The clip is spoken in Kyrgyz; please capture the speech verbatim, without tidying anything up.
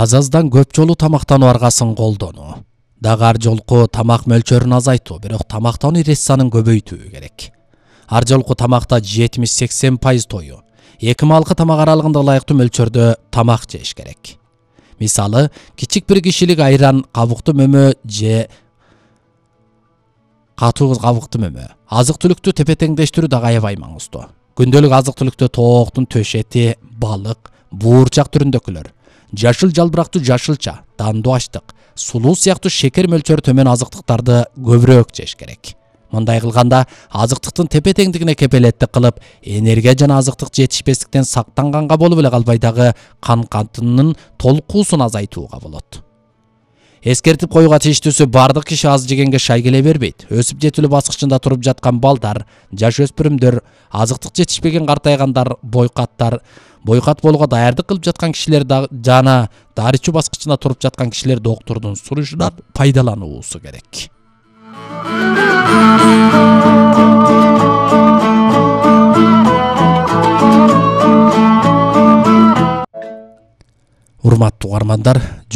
Аз-аздан көп жолу тамактануу аргасын колдонуу. Дагы ар жолку тамак мөлчөрүн азайтуу, бирок тамактануу ирет-санын көбөйтүү керек. Ар жолку тамакта жетимиш сексен пайыз тою, эки малкы тамак аралыгында ылайыктуу мөлчөрдө тамак жеш керек. Мисалы, кичик бир кишилик айран, кабыктуу мөмө же катуу кабыктуу мөмө. Азык-түлүктү тепе-теңдештирүү дагы аябай маңыздуу. Күндөлүк азык-түлүктө тооктун төш эти, балык, буурчак түрүндөкүлөр, жашыл жалбырактуу жашылча, дандуу аштык, сулуу сыяктуу шекер мөлчөрү төмөн азыктыктарды көбүрөөк жеш керек. Мындай кылганда азыктыктын тепе-теңдигине кепилеттик кылып, энергия жана азыктык жетишпестиктен сактанганга болуп эле калбай дагы кан кантынын толкуусун азайтууга болот. Эскертип коюуга тийиштүүсү, бардык киши аз жегенге шай келе бербейт. Өсүп жетилүү баскычында туруп жаткан балдар, жаш өспүрүмдөр, азыктык жетишпеген картайгандар, бойкаттар, бойкат болууга даярдык кылып жаткан кишилер жана дарычуу баскычында туруп жаткан кишилер доктурдун сурушунан пайдалануусу керек. Урматтуу угармандар,